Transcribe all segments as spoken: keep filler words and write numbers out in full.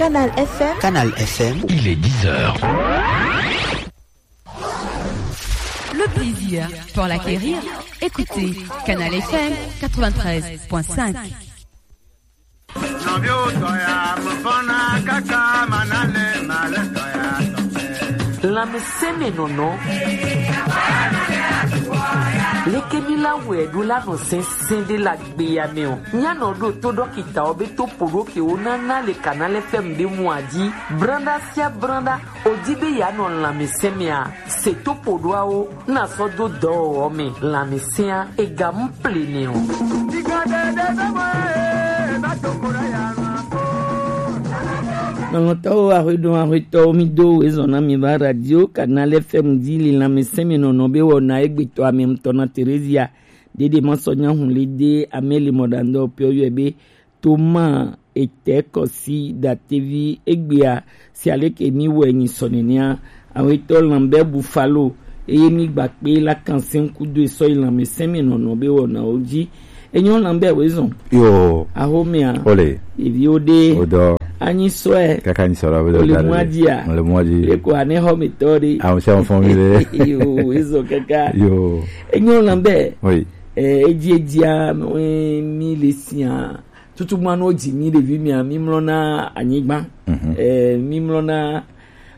Canal F M. Canal F M. Il est dix heures. Le plaisir pour l'acquérir. Écoutez Canal F M quatre-vingt-treize point cinq. Lanmɛsɛmɛ nɔnɔ. Leke mi la wɛ do la nɔ sɛnsɛn de la gbe ya mɛ o. Nya nɔ do to dɔkita o be to podo ke o na na le Canal F M de mu aji. Branda sia branda. O di be ya nɔ lanmɛsɛmɛ a. Se to podo a o. Na sɔ do dɔ o mɛ. Lanmɛsɛn a. E ga mu ple nɛ o. Lɔlɔ̃tɔwo, ahweɖo, ahwetɔwo, mi do wezɔn na mi va radio Canal F M dzi li lanmɛsɛmɛ nɔnɔ be wɔna egbetɔ ame ŋutɔ na Teresia. Dede ma sɔ nya hun le de ame le mɔɖaŋdɔ pio yɔe be Toma etɛ kɔsi datevi egbea si aleke mi wɛ nyi sɔ nenea. Awetɔ Lambert Buffalo eye mi gba kpe la kan sɛn kudo esɔ yi lanmɛsɛmɛ nɔnɔ be wɔna wo dzi. Enyo Lambert wezɔn. Yo. Ahomea. Ole. Ɖeviwo ɖe. Odɔ. Anyi sɔɛ. Kaka anyi sɔɛ la, ole mɔa dzia. Ole mɔa dzi. Eko ane xɔ mi tɔ ɖe. Awo se fɔn mi le. Yo, wezɔn kaka. Yo. Enyo Lambert. Oui. Eh, edzi edzia, eh, mi le sia. Tutugbã no dzi mi ɖevi mia, mi mlɔna anyigba. Mhm. Eh, mi mlɔna,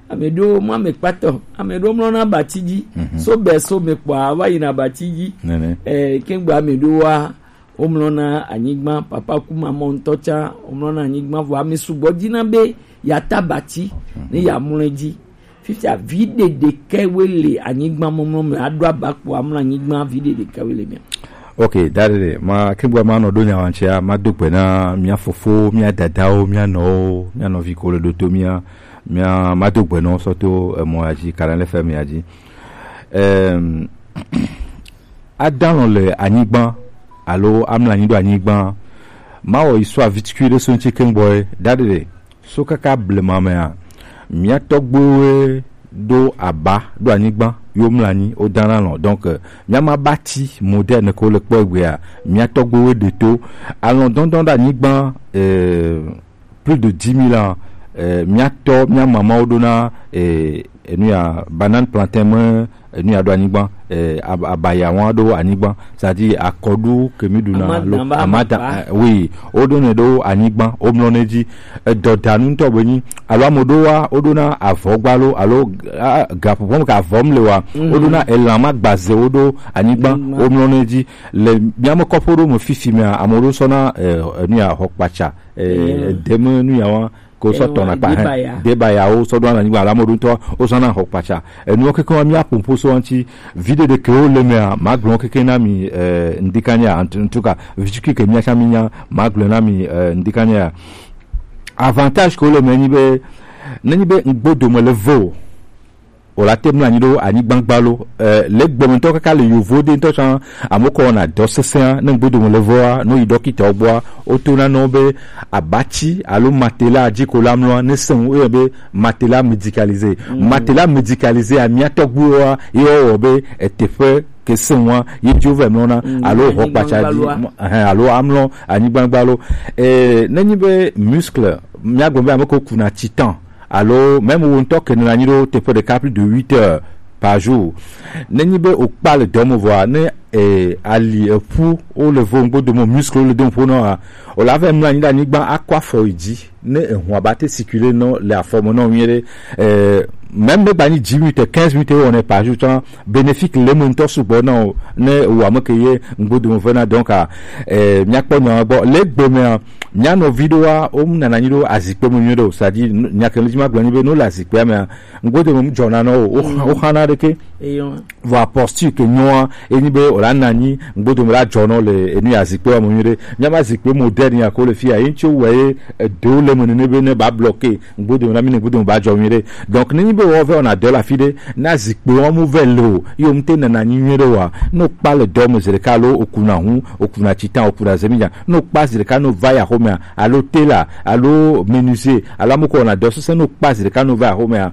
ame ɖewo mɔ ame kpatɔ, ame ɖewo mlɔna abati dzi. Mhm. So be so me kpɔa, va yina abati dzi. Nene. Eh, kengbe ame ɖewo wa, wo mlɔna anyigba, papa ku mamɔ ŋutɔ tsa, wo mlɔna anyigba, vɔ ame sugbɔ dina be ya ta abati, mhm, ne ya mlɔ dzi. Fifia vi ɖeɖe ke we le anyigba mɔmlɔ me, aɖo aba kpo amlɔ anyigba vi ɖeɖe ke we le mea. Ok, da ɖeɖe, ma, ke bua ma nɔ ɖo nya wa ŋutia, ma do gbe na mia fofo, mia dadawo, mia nɔwo, mia nɔvi ko le ɖo to mia, mia, ma do gbe nɔ sɔ to emɔ ya dzi, Canal F M ya dzi. Em, adalɔ le anyigba, alo amlɔ anyi ɖo anyigba, ma wɔ yi sɔ avitukui ɖe so ŋuti ke ŋgbɔ ye, da ɖeɖe. So kaka blema mea, mia tɔgbuiwoe ɖo aba ɖo anyigba, yo mlɔ anyi, wo dana lɔ. Donc, euh, mia ma bati moderne ko le kpɔ egbea, mia tɔgbuiwoe ɖe to. Alɔ dɔndɔn ɖo anyigba, euh, plus de dix mille ans, euh, mia tɔ, mia mamawo ɖona, euh, enu ya, banane, plantain me, enu ya ɖo anyigba, eh, ab-, abaya wa ɖo anyigba, c'est-à-dire akɔɖu ke mi ɖuna, alo amadan, amadan, eh, oui, wo ɖo ne ɖo anyigba, wo mlɔ ne dzi. Edɔdanu ŋutɔ be nyi, alo ame ɖo wa, wo ɖona avɔ gba lo, alo, ah, gaƒoƒo me ke avɔ me le wa, wo ɖona elã ma gbaze wo ɖo anyigba, wo mlɔ ne dzi. Le mia me kɔƒe ɖo me fifi mea, ame ɖo sɔna, eh, enu ya xɔ kpatsa, eh, edeme nu ya wa, ko sɔ tɔna kpa hɛn. Debayawo sɔ ɖo anyigba la mo ɖo ŋutɔ, wo sɔ na xɔ kpatsa. Enuwo keke wa mi aƒo ƒo so ŋuti. Video ɖe ke wo le mea, ma gblɔ keke na mi, eh, ŋdika nya, en, en tout cas, vitu ke mia cha mi nya, ma gblɔ na mi, eh, ŋdika nya. Avantage ke wo le me nyi be, ne nyi be ŋgbo dome le vo. O la te mlɔ anyi ɖo anyigba gba lo. Eh, le gbɔmetɔ kaka le yovo de ŋutɔ tsã, ame kɔ wɔna dɔ sesẽa, ne ŋgbodo me le vɔa, no yi dɔkita gbɔa, o to na nɔ be abati alo matela dzi ko la mlɔa, ne sẽŋu, o yɔ be matela médicalisé. Mm. Matela médicalisé a, mia tɔgbuiwoa, ye wɔ be eteƒe ke sẽŋua, ye dzi wo vɛ mlɔna, mm, alo anyigba xɔ kpatsa dzi, gba. Mo-, ɛhɛn, alo amlɔ anyigba gba lo. Eh, ne nyi be muscle, mia gblɔ be ame ko kuna titan, alo même wo ŋutɔ ke nɔna anyi ɖo teƒe ɖeka plus de huit heures par jour. Ne nyi be wokpa le dɔ me vɔa, ne, eh, ali, eƒu, wo le vo ŋgbo dome, muscle wo le dome ƒo nɔa, o la va mlɔ anyi ɖe anyigba, akɔ afɔ yi dzi, ne ehua ba te circuler nɔ le afɔ me nɔ nyuie ɖe. Eh, même ne gba nyi dix minutes, quinze minutes wo wɔnɛ par jour tsã, bénéfique le me ŋutɔ sugbɔ na o, ne wo ame ke ye ŋgbo dome vena. Donc, ah, eh, mia kpɔ nya gbɔ. Le gbe mea, mia nɔvi ɖoa, wo mu nana anyi ɖo azikpe me nyuie ɖe o. C'est-à-dire, n-, nya ke le dzi ma gblɔ nyi be, no le azikpea mea, ŋgode me mu dzɔna nɔ o. Wo xa-, mm, wo xana ɖeke. Eyo. Vɔ posture ke nyɔa, enyi be o la na anyi, ŋgode me la dzɔ nɔ le enu ya azikpea me nyuie ɖe. Mia ma azikpe moderne ya ko le fia, ye ŋutsi wɔ ye eɖewo le me nene be ne ba bloqué, ŋgode me na mi ne ŋgode me ba dzɔ nyuie ɖe. Donc, ne nyi be wɔ vɛ wɔna dɔ le afi ɖe, na zikpe wɔn mu vɛ le o, ye wo mu te nana anyi nyuie ɖe wa. No kpa le dɔ me zi ɖeka alo o kuna hu, o kuna titan, o kuna zeminya. No kpa zi ɖeka no va ya xomea, alo tailor, alo menuisier, alo ame ko wɔna dɔ sese, no kpa zi ɖeka no va ya xomea.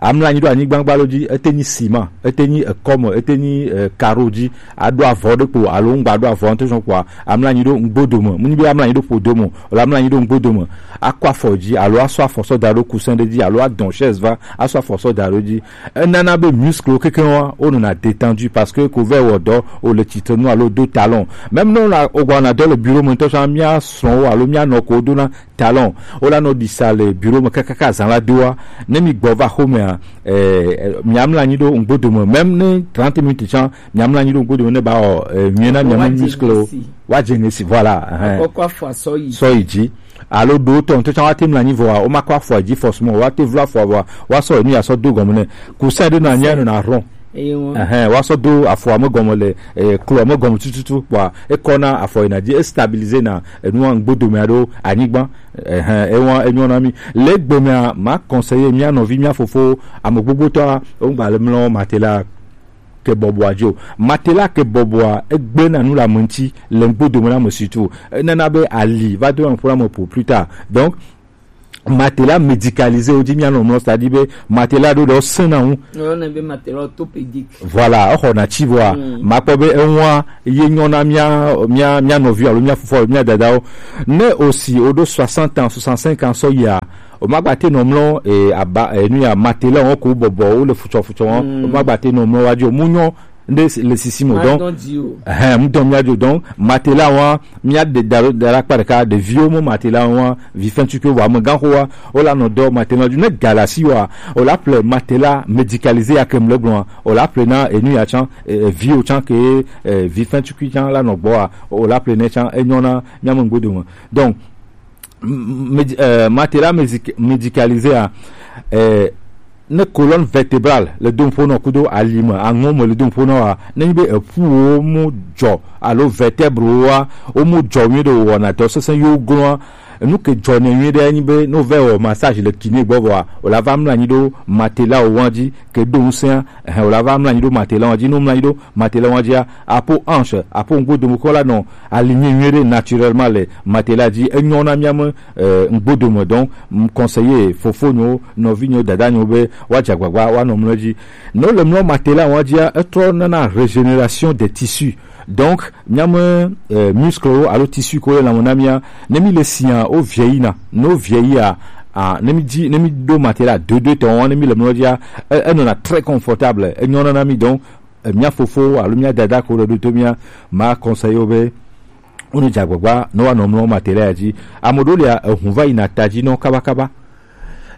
Amla anyi ɖo anyigba gba lo dzi, ete nyi ciment. ete nyi ekɔme, ete nyi eh, karo dzi, aɖo avɔ ɖe kpo alo ŋgba ɖo avɔ ŋutɔ sɔn kpoa, amla anyi ɖo ŋgbodo me. Mu nyi be amla anyi ɖo ƒodo me o, la amla anyi ɖo ŋgbodo me. Akɔ afɔ dzi alo asɔ afɔ sɔ da ɖo coussin ɖe dzi alo adɔn chaise va asɔ afɔ sɔ da ɖo dzi. Enana be muscle wo kekeŋ wa wonɔna détendu parce que ko vɛ wɔ dɔ o le tsitre nu alo do talon. Même ne wona wogba wɔna dɔ le bureau me ŋutɔ sɔn mía srɔ̃wo alo mía nɔ ko wodona talon, wola nɔ ɖi sa le bureau me kakaka zã la doa. Ne mi gbɔ va xomea, eh, miamla anyi ɖo ŋgbodo me, même ne trente minutes tsã miamla anyi ɖo ŋgbodo me ne ba wɔ eh, nyuie na miamu muscle wo. Wa dze ŋesi, voilà. Kɔkɔ afɔ asɔ yi sɔ yi dzi. Alo ɖo tɔ ŋutɔ tsã wa te mla anyi vɔa, wo ma kɔ afɔ dzi forcément, wa te vlo afɔ vɔa, wa sɔ enu ya sɔ do gɔme ne. Kusa ɖe na nya nɔ na rɔn. Eye ŋu. Ɛhɛn, wa sɔ do afɔa me gɔme le eh, kloa me gɔme tututu kpoa ekɔna afɔ yina dzi, estabilize na enua ŋgbodomea ɖo anyigba. Ɛhɛn, ewa enyɔ na mi. Le gbemea ma conseiller mia nɔvi mia fofo ame gbogbotɔa wogba le mlɔ matela ke bɔbɔa dzi o. Matela ke bɔbɔa egbe na nu le ame ŋuti le ŋgbodome na ame surtout. Enana be ali va do na ƒo na ame ƒo plus tard. Donc matela médicalisé wo dzi mia nɔ mlɔ, c'est-à-dire be matela ɖo ɖe sena ŋu. Yɔnɛ be matela orthopédique. Voilà, exɔ na tsi vɔa. Mm. Makpɔ be eŋua ye nyɔ na mia mia mia nɔvi alo mia fofo alo mia dadawo. Ne osi o ɖo soixante ans, soixante-cinq ans sɔ yia, o ma gba te nɔ mlɔ e aba e nu ya matela wo ko bɔbɔ wo le futsɔ futsɔ wo. Mm. O ma gba te nɔ mlɔ wa dzi o mu nyɔ nde le sisi mo donc. Ɛhɛn, mu dɔn mia dzo donc matela wa mia de da da la kpa ɖeka ɖeviwo mo matela wa vi fɛn tukui wa me gan xo wa o la nɔ dɔ matela dzo ne galasi wa o la ple matela médicalisé ya ke mle gblɔa o la ple na enu ya tsã eh, viwo tsã ke eh, vi fɛn tukui tsã la nɔ gbɔa o la ple ne tsã enyɔ na mia me ŋgbodo me donc médi- euh, matela médic- médicalisé a euh, ne colonne vertébrale le dompo nɔ kudo alime aŋɔ me le dompo nɔ wa ne nyi be eƒu wo mu dzɔ alo vertèbre wo wa wo mu dzɔ nyuie ɖe wɔna dɔ sese yo glɔa nu ke dzɔ ne nyuie ɖe nyi be no vɛ wɔ massage le kiné gbɔ vɔa o la va mla nyi ɖo matela wo wa dzi ke ɖo ŋusẽa. Ɛhɛn, o la va mla nyi ɖo matela wa dzi no mla nyi ɖo matela wa dzia apo anche apo ŋgbodomekɔ la nɔ aligné nyuie ɖe naturellement le matela dzi enyɔ na mia me eh, ŋgbodome donc m conseiller fofonyo nɔvinyo dadanyo be wa dza gbagba wa nɔ mlɔ dzi. Ne le mlɔ matela wa dzia etrɔ nana régénération des tissus donc mia me eh, muscle wo alo tissu ko le lame na mia ne mi le sia o vieillir na no vieillir a ah, ne mi dzi ne mi do matela deux deux tɔn ne mi le mlɔ dzia e- enɔna très confortable enyɔ na mi donc eh, mia fofo alo mia dada ko ɖe ɖo to mia ma conseiller wo be wonu dze agbagba ne woanɔ mlɔ matela ya dzi. Ame ɖewo lia ehun va yina ta dzi nɔ kabakaba.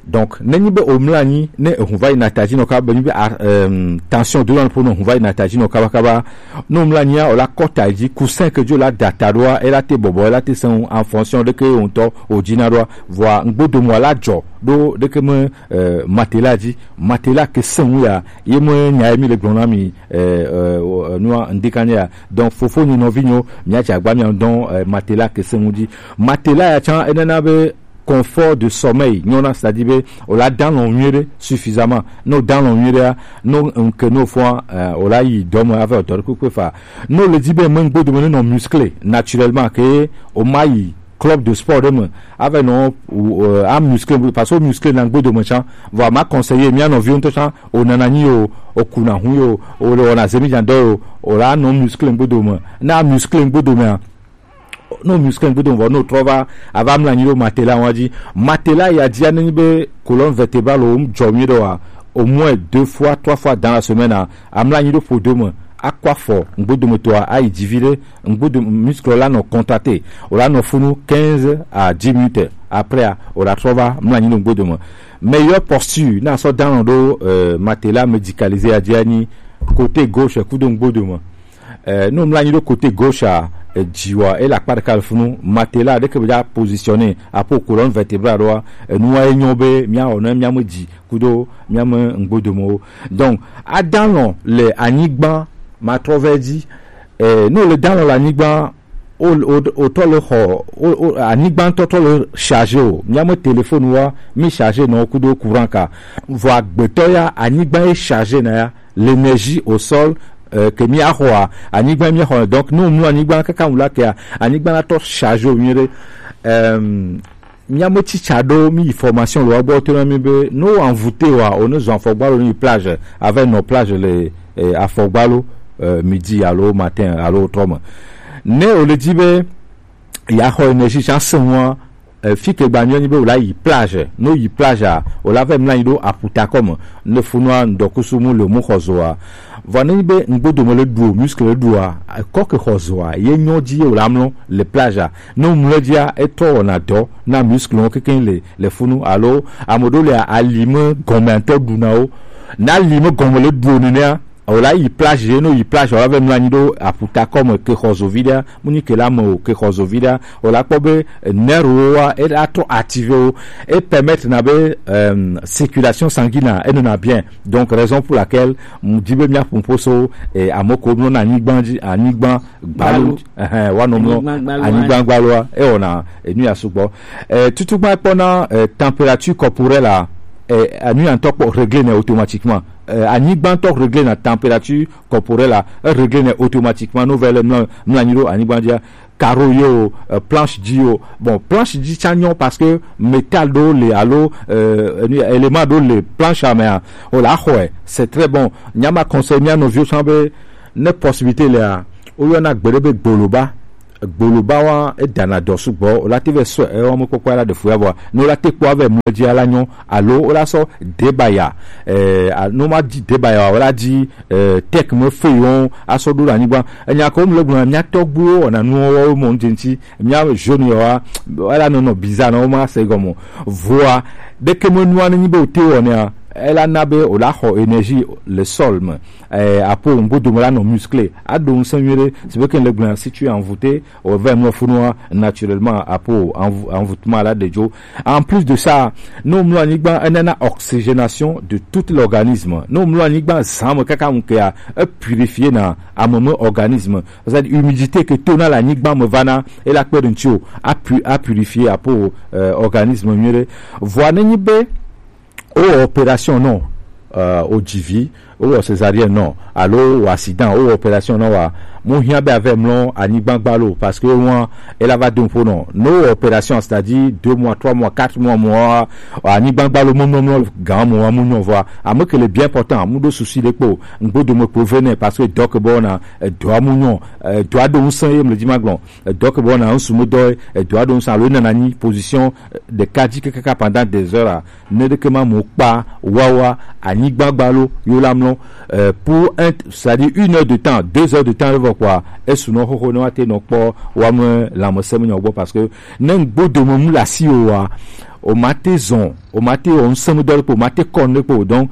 Donc ne nyi be omla anyi ne ehun va yina ta dzi nɔ kaba be nyi be ah, um, tension do nɔ ƒo nɔ ehun va yina ta dzi nɔ kabakaba. Ne omla anyia o la kɔ ta dzi coussin ke dzo la da ta ɖoa e la te bɔbɔ e la te sẽŋu en fonction ɖeke ye ŋutɔ o dzina ɖoa vɔa ŋgbodomɔ la dzɔ ɖo ɖeke me eh, matela dzi matela ke sẽŋu ya ye me nya ye mi le gblɔ na mi eh, eh, nua ŋdika nya ya donc fofo nyi nɔvi nyo mia dze agba mia dɔn eh, matela ke sẽŋu dzi matela ya tsã enana be confort de sommeil nyɔna c'est-à-dire be o la dan lɔ nyuie ɖe suffisamment no dan lɔ nyuie ɖe no nke no fɔa eh, o la yi dɔme ave dɔ ɖe kpekpe fa no le di be me ŋgbodo me ne nɔ musclé naturellement ke o ma yi club de sport ɖe me ave nɔ uh, a muscle parce que muscle na ŋgbodo me tsã vɔ a ma conseiller mia nɔviwo ŋutɔ tsã o nana nyi o o kuna hu yo o le wɔna zemi dzan dɔ yo o la nɔ muscle ŋgbodo me na muscle ŋgbodo mea no muscle ŋgbodo me vɔ no trɔ va ava mla nyi ɖo matela wa dzi matela ya dzia ne nyi be colonne vertébrale wo dzɔ mi ɖo wa au moins deux fois trois fois dans la semaine a amla nyi ɖo ƒodo me akɔ afɔ ŋgbodo me tɔa ayi dzi vi ɖe ŋgbodo muscle la nɔ contracté o la nɔ funu quinze à dix minutes après a o la trɔ va mla nyi ɖo ŋgbodo me meilleure posture na sɔ dalɔn ɖo euh, matela médicalisé a dzia nyi côté gauche kudo ŋgbodo me euh, no mla nyi ɖo côté gauche a dzi wa e la kpa ɖeka le funu matela ɖeke be dza positionné apo colonne vertébrale ɖoa enua e nyɔ be mia wɔ ne mia me dzi kudo mia me ŋgbodomewo donc adalɔn le anyigba matrɔ vɛ dzi eh, ne le dalɔn le anyigba o o o tɔ le xɔ o o anyigba ŋutɔ tɔ le chargé o mia me téléphone wa mi chargé nɔ kudo courant ka vɔ agbetɔ ya anyigba ye chargé na ya l'énergie au sol euh, ke mi axɔa anyigba mi axɔ donc ne mlɔ anyigba kaka ŋu la kea anyigba la tɔ chargé o nyuie ɖe euh, Mía me tsitsa ɖo mí yi formation le woa gbɔ, to na mí be ne wo envoûté wa, o ne zɔn afɔgbalo ne yi plage, avec nos plages le eh, afɔgbalo eh, midi alo matin alo trɔ me. Ne o le di be ya xɔ énergie tsa se ŋua, eh, fi ke gba nyɔ nyi be o la yi plage, no yi plage a, o la vɛ mla nyi ɖo aputa kɔ me, ne funua ŋdɔkusu mu le mu xɔ zoa. Vɔ ne nyi be ŋgbodo me le ɖu o, muscle le ɖu a, kɔ ke xɔ zoa, ye nyɔ dzi ye o la mlɔ le plage a. Ne o mlɔ dzia, e trɔ wɔna dɔ na muscle wo keke le le funu alo ame ɖewo le ali me gɔme ŋutɔ ɖu na wo. Ne ali me gɔme le ɖu o nenea, o la yi plage ye, no yi plage o la vɛ mlɔ anyi ɖo aputa kɔ me ke xɔ zo vi ɖea, mu nyi ke la me o ke xɔ zo vi ɖea, o la kpɔ be nerf wo wa e la trɔ activé wo, e permettre na be euh, circulation sanguine e nɔna bien. Donc raison pour laquelle mu di be mía ƒoƒo so eh, ame ko mlɔ na anyigba dzi, anyigba gbalu. Gbalu. Ɛhɛn, wa nɔ mlɔ anyigba gbalu anyigba gbalua, e wɔna enu ya sugbɔ. Eh, tutu gba kpɔ na eh, température corporelle a, eh, anu ya ŋutɔ kpɔ régler nɛ automatiquement. Eh, anyigba ŋutɔ régler na température corporelle a, e régler nɛ automatiquement. No vɛ le mlɔ mlɔ anyi ɖo anyigba dzia, carreau yo, euh, planche dzi yo. Bon, planche dzi tsa nyɔ parce que métal ɖo le alo euh, enu- élément ɖo le planche a mea, o la xɔe, c'est très bon. Nyama conseil mia nɔviwo tsã be ne possibilité lea, woyɔna gbe ɖe be gboloba. Gboloba wa edana dɔ sugbɔ, o la te vɛ sɔ ewɔ me kpɔkpɔ la ɖe fu ya vɔa, ne o la te kpɔ avɛ mlɔ dzi ala nyɔ, alo o la sɔ debaya, eh, a- no ma di debaya wa, o la di eh, tech me feuillon asɔ ɖo ɖe anyigba. Enya ko mle gblɔ mía tɔgbuiwo wɔna nuwo wɔwo mɔ ŋdze ŋtsi, mía jaune yawoa, ela nɔnɔ bizarre na wo ma se gɔme. Voa ɖeke me nua ne nyi be wote wɔnɛa, ela na be o la xɔ énergie le sol me. Eh, apo ŋgbo dome la nɔ musclé, aɖo ŋusẽ nyuie ɖe, si be ke le gblɔna si tu es envoûté, o vɛ mlɔ funua naturellement apo envou- envoûtement la ɖe dzo. En plus de ça, ne womlɔ anyigba, enana oxygénation de tout l'organisme. Ne womlɔ anyigba zã me kaka ŋu kea, e purifier na ame me organisme. C'est-à-dire humidité ke to na le anyigba me vana, e la kpe ɖe ŋuti o, a pu- a purifier apo euh, organisme nyuie ɖe. Vɔa ne nyi be wowɔ opération nɔ, euh, wodzi vi, wowɔ césarienne nɔ, alo wowɔ accident, wowɔ opération nɔ wa, mu hiã be avɛ mlɔ anyigba gba lo, parce que wan ela va do ƒo nɔ. Ne wowɔ opération, c'est-à-dire deux mois, trois mois, quatre mois, mois, anyigba gba lo mlɔmlɔmlɔ gan mois mu nyɔ vɔa, ame ke le bien important, mu ɖo souci ɖe kpo, ŋgbodo me kpo vɛ nɛ, parce que dɔ ke bɔ na edɔa mu nyɔ, edɔa ɖo ŋusẽ ye mle dzi ma gblɔ, edɔ ke bɔ na ŋsu me dɔ, edɔa ɖo ŋusẽ alo enana nyi position ɖeka dzi kekaka pendant des heures a, ne ɖeke ma mo kpa wawa anyigba gba lo yo la mlɔ, euh, pour un, c'est-à-dire une heure de temps, deux heures de temps, evɔ kpɔa esu nɔ xoxo ne wa te nɔ kpɔ wa me lãmesẽ me nyɔ gbɔ, parce que ne ŋgbodo me mu le asi o wa, o ma te zɔn, o ma te wɔ ŋusẽ me dɔ ɖe kpo, o ma te kɔ nu ɖe kpo. Donc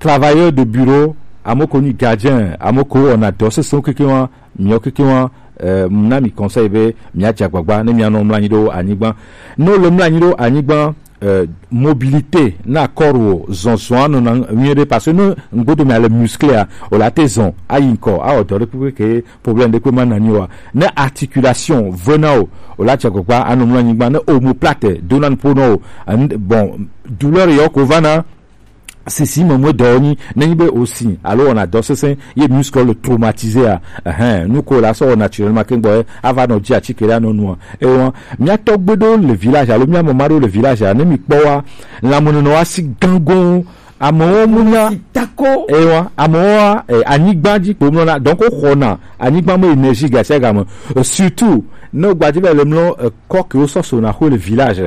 travailleur de bureau, ame ko nyi gardien, ame ko wɔna dɔ sesẽ keke wa, miɔ keke wa, euh, na mi conseil be mia dze agbagba ne mia nɔ mlɔ anyi ɖo anyigba. Ne wole mlɔ anyi ɖo anyigba, euh, mobilité na corps wo zɔzɔa nɔna nyuie ɖe, parce que ne ŋgbodo mea le musclé a, o la te zɔn ayi ŋkɔ, awɔ dɔ ɖe kpekpe ke problème ɖe kpe ma na nyi wa. Ne articulation vena o, o la dze agbagba anɔ mlɔ anyigba. Ne omoplate dona nu ƒo nɔ o, en- bon, douleur yɔ ko vana sisi me mu dɔ nyi, ne nyi be o si alo wɔna dɔ sesẽ ye muscle le traumatisé a, ɛhɛn, nu ko la sɔ wɔ naturellement ke gbɔ ye ava nɔ dzi atike la nɔ nua. Ewa mia tɔgbe ɖo le village alo mia mama ɖo le village a, ne mi kpɔ wa, lãmenɔnɔ wa si gango, amewo mu nya tako. Ewa amewo wa eh, anyigba dzi kpo mlɔ na, donc o xɔna anyigba me énergie gasiagame. Euh, surtout ne gbadzi va le mlɔ eh, kɔ ke wosɔ sona xo le village,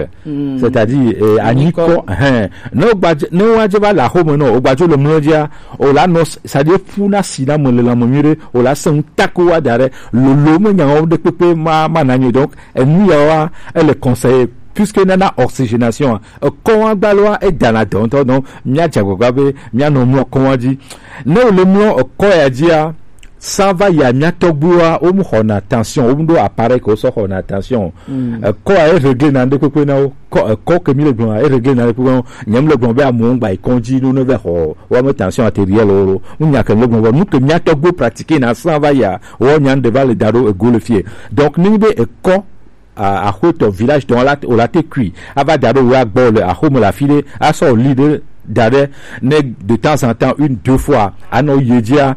c'est-à-dire eh, anyikɔ, hɛn, ne wogba ne woadze va le axome nɔ, wogbadzo le mlɔ dzia, o la nɔ, c'est-à-dire ƒu na si na me le lãme nyuie ɖe, o la se ŋu tako wa da ɖe, lolo me nyawo ɖe kpekpe ma ma na nyo. Donc enu yawoa ele conseillé, puisque nana oxygénation a, ekɔwa gbaloa edana dɔ ŋutɔ. Donc mia dze agbagba be mia nɔ mlɔ kɔwa dzi. Ne wole mlɔ ekɔ ya dzia, san va yi amia tɔgbuiwoa, wo mu xɔna tension, wo mu ɖo appareil ke wosɔ xɔna tension. Ekɔ a e régler na ŋɖe kpekpe na wo. Kɔ ekɔ ke mi le gblɔ e régler na ŋɖe kpekpe na wo. Nye mi le gblɔ be amewo ŋgba yi kɔdzi no ne va xɔ wo ame tension artérielle wo. Mu nya ke mi le gblɔ nu ke mia tɔgbuiwo pratiquer na san va yi a, wo nya ŋɖe va le da ɖo ego le fie. Donc ne nyi be ekɔ a- axwetɔ village tɔ la o la te kui ava da ɖo wa gbɔ le axome le afi ɖe asɔ li ɖe da ɖe ne de temps en temps une deux fois anɔ yi dzia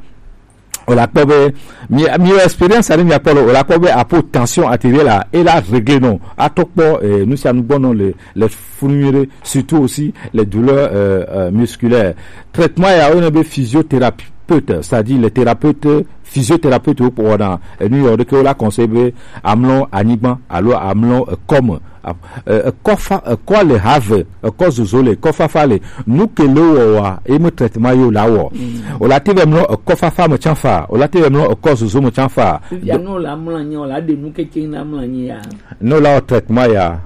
O la kpɔ be mi mi expérience ani mi akpɔ lo, o la kpɔ be apo tension artérielle la, e la régler non, a tɔ kpɔ eh, nu sia nu gbɔ non le le funu nyuie ɖe, surtout aussi les douleurs euh, euh, musculaires. Traitement ya wo ne be physiothérapeute, c'est-à-dire les thérapeutes physiothérapeutes wo kpɔ na enu yɔ ɖeke wo la conseil be amlɔ anyigba alo amlɔ ekɔme. Ekɔ fa ekɔ le have, ekɔ zozo le, ekɔ fafa le. Nu ke le wɔ wa e me traitement yo la wɔ. O la te be mlɔ ekɔ fafa me tsan fa, o la te be mlɔ ekɔ zozo me tsan fa. Fifia no la mla nyi o la de nu keke na mla nyi ya. No la o traitement ya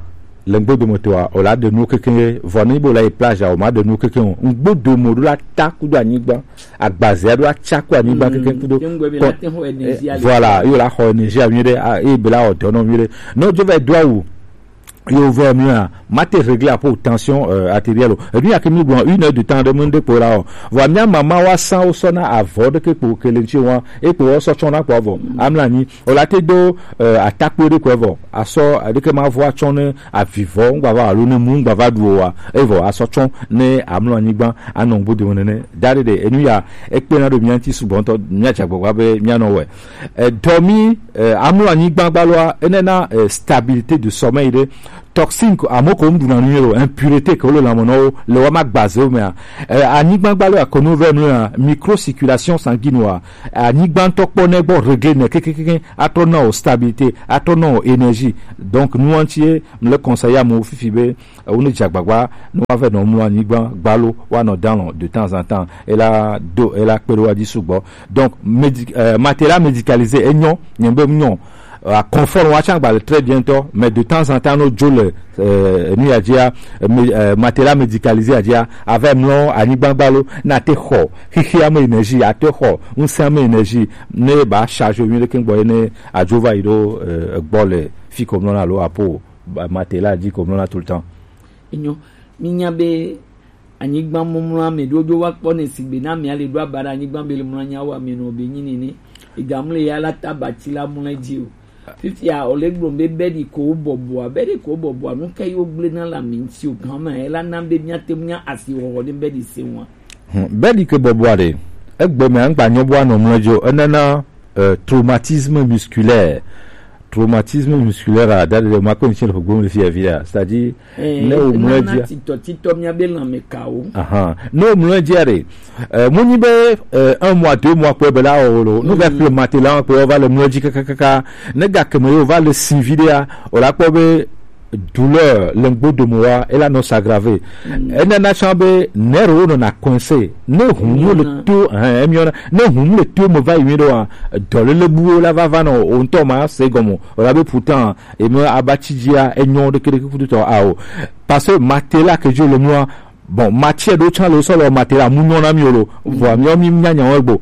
le ngbo do me to a, o la de nu keke vɔ ni bo la e plage a, o ma de nu keke o. Ngbo do mo do la ta ku do anyigba. Agbaze a do a tsa ku anyigba keke ku do. Voilà, yo la xɔ énergie a mi de, e be la o do no mi de. No jo va do a wu. Yo vɔ mia ma te régler apo tension euh, artérielle o. Ebi ya ke mi gbɔ une heure de temps de mun de po la o. Vɔ mia mama wa san o sɔna avɔ de ke po ke le nti wa e po o sɔ tsɔna po vɔ amla ni o la te do euh, atakpo de ko vɔ asɔ de ke ma vɔ atsɔ ne avivɔ ngba va alo ne mu ngba va du o wa e vɔ asɔ tsɔ ne amla ni gba anɔ ngbo de ne da de de enu ya e pe na do mia nti sugbɔ ntɔ mia dzagbagba be mia nɔ wɛ. Dɔmi amlɔ anyigba gbaloa enena stabilité de sommeil ɖe. Toxine ko amo ko ŋɖuna nu yelo, impureté ke wole lãmenɔwo le wama gbazewo mea. Anyigba gbaloa ko nu vɛ mlɔa micro circulation sanguine wa anyigba ŋutɔ kpɔ ne gbɔ régler ne kekekeke atrɔ na o stabilité atrɔ na o énergie. Donc nuwa ŋuti ye mle conseiller amewo fifi be ewo ne dze agbagba ne woava nɔ mlɔ anyigba gbalo woanɔ dalɔ de temps en temps ela do ela kpe ɖe woa dzi sugbɔ. Donc médi, euh, matelas médicalisé enyɔ nye be nyɔ. Euh, confort wa tsã gba le très bien tɔ mais de temps en temps no dzo le euh, nu ya dzia euh, matelas médicalisé ya dzia ava mlɔ anyigba gbalo na te xɔ xixia me énergie ate xɔ ŋusẽ me énergie ne ba charge mi ɖeke gbɔ ne adzo va yi ɖo euh, gbɔ le fi ko mlɔ na lo apo. Matelas dzi ko mlɔna tout le temps. Enyo, minya be anyigba mumlɔ ame ɖo ɖo wa kpɔ ne sigbe na mia le ɖo aba ɖe anyigba be le mlɔ nya wa me no be nyi nene. Ega mle ya la ta bati la mlɔ dzi o. Fifia o le gblɔ be be di ko bɔbɔa, be di ko bɔbɔa nu ke yo gble na la mi ŋuti o gan ma e la na be mia te mia asi wɔwɔ ne be di se wa. Hmm, be di ke bɔbɔa ɖe egbe me angba nyɔ bɔ anɔ mlɔ dzi o enana euh, traumatisme musculaire. Traumatisme musculaire a da de ma ko nche le gbom le fi avia, c'est-à-dire ne o mlɔ dzi titɔ titɔ mia be lãme kawo. Aha, ne o mlɔ dzi re euh, mo nyi be euh, un mois deux mois ko be la o lo no ga kple matelas ko va le mlɔ dzi kakakaka ne ga ke me yo va le sin vidéo o la kpɔ be douleur le ŋgbodomo wa ela nɔ s'aggraver. Enana tsã be nerwo nɔna coincé ne hum le to hein emiona ne hum le to me va yi ɖoa dɔlele buwo la va va nɔ o ŋutɔ ma se gɔme o la be pourtant eme abatsi dzia enyɔ ɖeke ɖeke kutu tɔ ao. Parce que matelas ke dzo le nua bon matsi ɖo tsã le sɔ le matelas mu nyɔ na mi o lo vɔ mi mi nya nya wo egbo.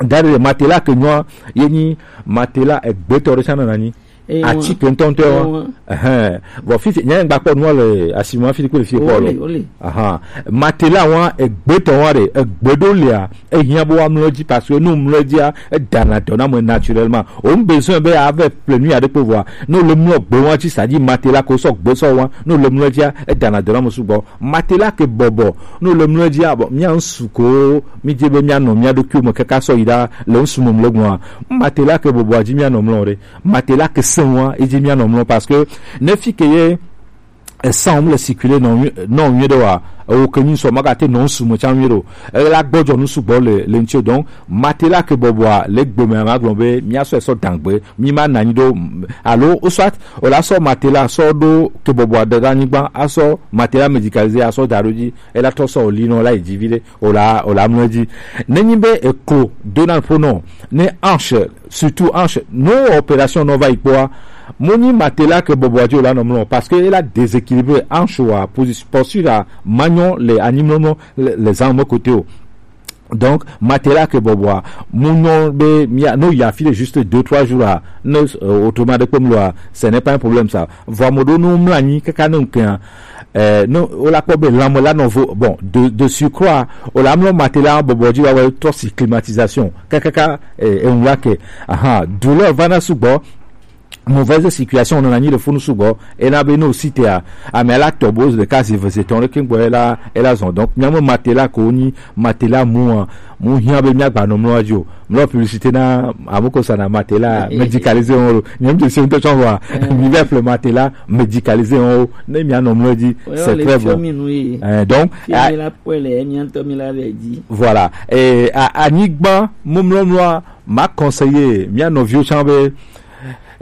Da ɖe matelas ke nyɔa ye nyi matelas egbetɔ ɖe tsã nana nyi. Eye ati ke ŋutɔŋutɔ wa. Eye wa. Ɛhɛn. Vɔ fifi nyɛ ŋgba kpɔ nua le asime fifi kple fifi kpɔ lo. Ole, ole. Ahan. Matelas wa egbetɔ wa ɖe egbe ɖo lia ehiã bo wa mlɔ dzi parce que nu mlɔ dzia edana dɔ na me naturellement. O ŋu besoin be ave ple nu ya ɖe kpo vɔa ne le mlɔ gbe wa dzi sa dzi matelas ko sɔ gbe sɔ wa ne le mlɔ dzia edana dɔ na me sugbɔ. Matelas ke bɔbɔ ne le mlɔ dzia bɔ mia ŋsu ko mi dze be mia nɔ mia ɖokuiwo me kaka sɔ yi ɖa le ŋsu me mlɔ gbɔa matelas ke bɔbɔa dzi mia nɔ mlɔ ɖe. Matelas ke sẽŋua edzi míanɔ mlɔ parce que ne fi ke ye esanwom le circuler nɔ nɔ nyuie ɖe wa ewo ke nyuie sɔ magate nɔ ŋsu me tsã nyuie ɖe o ela gbɔdzɔ nu sugbɔ le le ŋuti o donc matelas ke bɔbɔa le gbe me magblɔ be míasɔ esɔ dangbe mi ma na anyi ɖo alo o soit o la sɔ matelas sɔ ɖo ke bɔbɔa ɖe ɖe anyigba asɔ matelas médicalisé asɔ da ɖo dzi ela trɔ sɔ o li nɔ la yi dzi vi ɖe o la o la mlɔ dzi. Nenyi be eklo Donald ƒo nɔ ne hanche surtout hanche no opération nɔ va yi kpɔa mo nyi matelas ke bɔbɔa dzi o la nɔ mlɔ parce que ela déséquilibré hanche wa position posture a manyɔ le anyimlɔmlɔ le zan me kote o. Donc matelas ke bɔbɔa mo nyɔ be mia no ya fi de juste deux trois jours a ne autrement de kpem loa ce n'est pas un problème ça. Vɔ ame ɖewo ne womlɔ anyi kaka ne ŋkea eh, ne wola kpɔ be lãme la nɔ vo bon de, de surcroît wola mlɔ matelas bɔbɔ dzi wa wɔ trɔ si climatisation kakaka eh, eŋu la ke aha douleur vana sugbɔ. mauvaise circulation nɔna nyi le funu sugbɔ. Ena be no site a, ame la tɔ bo ɖeka zi eve zi etɔ̃ ɖe kengbe ela ela zɔn. Donc miame matela ko nyi matela mu a, mu hiã be miagba nɔ mlɔ dzi o. Mlɔ publicité na amuko sana matela médicalisé on lo. Nyem de se ŋutɔ tsɔ wa. Mi va ƒle matela médicalisé on o. Ne mianɔ mlɔ dzi, c'est très bon. Eh, donc, ah, voilà. Eh, a- anyigba mumlɔmlɔa, ma conseiller mia nɔviwo tsã be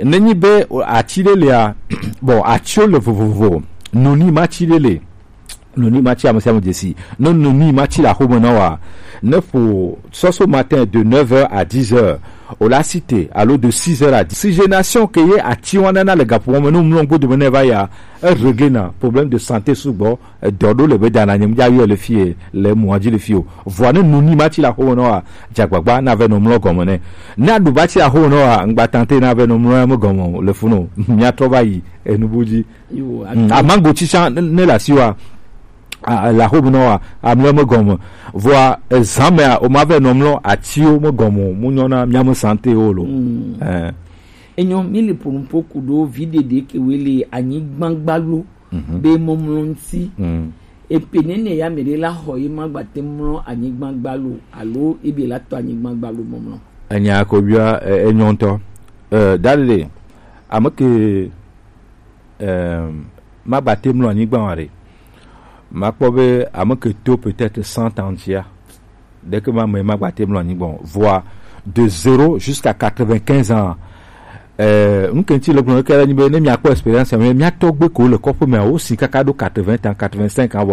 nenyi be ati ɖe lia, bon, atiwo le vovovo, noni ma ti ɖe le, noni ma ti ame sia ame dzesi, ne noni ma ti le axome na wa, ne ƒo sɔso matin de neuf heures à dix heures, o la cité, alo de six heures à dix. Oxygénation ke ye ati wa nana le gaƒo me, ne mlɔ gbodome ne va ya, e régler na problème de santé sugbɔ. Edɔ ɖo le be dana nye ŋdza yɔ le fie le mɔa dzi le fie o. Vɔa ne noni ma ti le axome nɔ wa, dze agbagba na ve nɔ mlɔ gɔme nɛ. Ne aɖu ba ti le axome nɔ wa, ŋgba tante na ve nɔ mlɔ ya me gɔme o, le funu o. Mia trɔ va yi enu bu dzi. Yo, Mm, amango tsitsa ne le asi wa, a- le axome nɔ wa, amlɔ me gɔme. Vɔa ezã mea, o ma ve nɔ mlɔ atiwo me gɔme o, mu nyɔna mia me santé o lo. Mm. Eh. Enyo mi le ponupo kudo vi ɖeɖe ke we le anyigba gbalo. Mhm. Be mɔmlɔ ŋuti. Mm. Epe nene ya me ɖe la xɔ ye ma gbate mlɔ anyigba gbalo alo ebe la tɔ anyigba gbalo mɔmlɔ. Enya ko bia e- enyo ŋutɔ. Eh, dadede, ame ke, eh, ma gbate mlɔ anyigba wa ɖe. Ma kpɔ be ame ke to peut-être cent ans ya. Ɖeke ma me ma gbate mlɔ anyigba o. Vɔa de zéro jusqu'à quatre-vingt-quinze ans. Euh, ŋkenti le gblɔ ke la nyi be ne mia kpɔ expérience me mia tɔgbe ko le kɔƒe me o si kaka ɖo quatre-vingts ans, quatre-vingt-cinq ans vɔ.